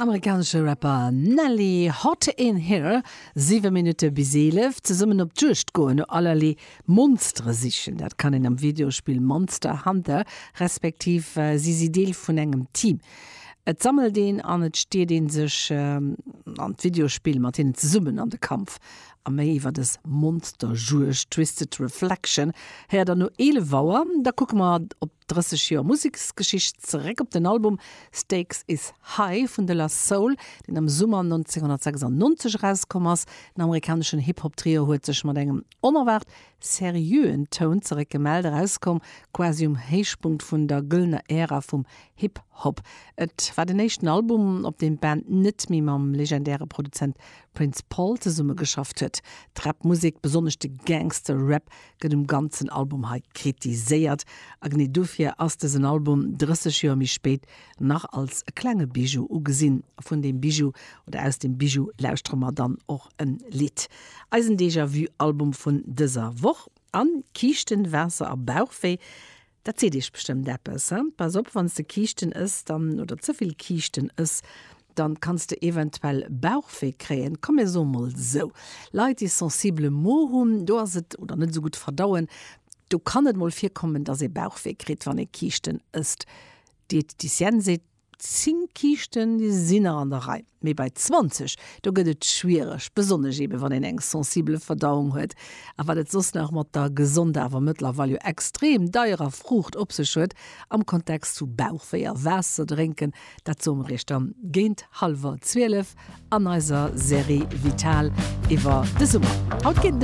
Amerikanesche Rapper Nelly, Hot In Here, 7 Minutte bis 11. Zesummen op d'Juegd goen, no allerlee Monstere sichen, dat kann een am Videospill Monster Hunter, respektiv si si Deel vun engem Team. Et sammelt een an et stiert ee sech an d'Videospill mat hinnen zesummen an de Kampf. A méi iwwer dës Monsterjuegd, Twisted Reflection, héiert der no 11 Auer. Da kucke mer op 30 Joer Museksgeschicht zeréck op den Album Stakes Is High vun De La Soul, deen am Summer 1996 erauskomm ass. Den amerikaneschen Hip-Hop-Trio huet sech mat engem onerwaart seriöen Toun zeréckgemellt, erauskomm quasi um Héichpunkt vun der gëllener Ära vum Hip-Hop. Et war den éischten Album, op deem d'Band net méi mam legendäre Produzent Prince Paul zesummegeschafft huet. D'Rap-Musek, besonnesch de Gangster-Rap, gëtt um ganzen Album hei kritiséiert a genee dofir ass dësen Album 30 Joer méi spéit nach als e klenge Bijou ugesinn. A vun deem Bijou oder aus deem Bijou lauschtere mer dann och en Lidd. Eisen Déjà-vu Album vun dëser Woch an Kiischten, Waasser a Bauchwéi. Dat seet iech bestëmmt eppes, he? Pass op, wann s de Kiischten ëss, dann, oder ze vill Kiischten ëss, dann kanns de eventuell Bauchwéi kréien. Komm mir soe mol sou, Leit déi sensibele Mo hunn, do ass et, oder net esou gutt verdauen, do kann et mol virkommen, dass ee Bauchwéi kritt, wann ee Kiischten ësst. D'Diététicienne seet, 10 Kiischten, déi sinn nach an der Rei, mee bei 20, do gëtt et schwiereg, besonnesch ebe wann een eng sensibel Verdauung huet. A wat et soss nach mat der gesonder, awer mëttlerweil jo extrem deierer Fruucht op sech huet am Kontext vu Bauchwéi a Waasser drénken, dat soe mer iech dann géint hallwer 12 an eiser Serie Vital iwwer de Summer. Haut geet et ëm.